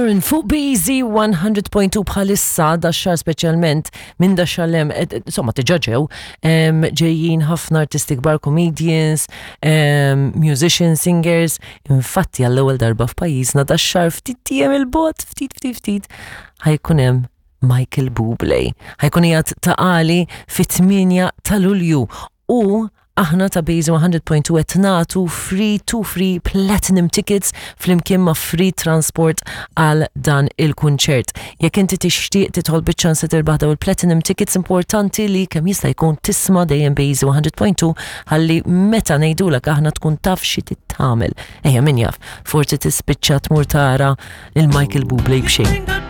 Sheeran fuq BZ 100.2 bħalissa da xar speċjalment minn da xar lem, insomma diġà ġew ġejjin ħafna artisti kbar, comedians, musicians, singers, infatti għall-ewwel darba f'pajjiżna da xar ftit tiem il-bot, ftit ftit ftit ħajkun hemm Michael Bublé. Ħajkun qiegħed ta' għali fit-8 ta' Lulju u aħna ta' Base 100.2 qed nagħtu free to free platinum tickets flimkien ma' free transport għal dan il-kunċert. Jekk inti tixtieq tidħol biċ-ċans li tirbaħ daw il-platinum tickets importanti li kemm jista' jkun tisma' dejjem Base 100.2 ħalli meta ngħidulek aħna tkun taf xi tagħmel. Ejja min jaf, forsi tispiċċa tmur tara il-Michael Bublé b'xejn.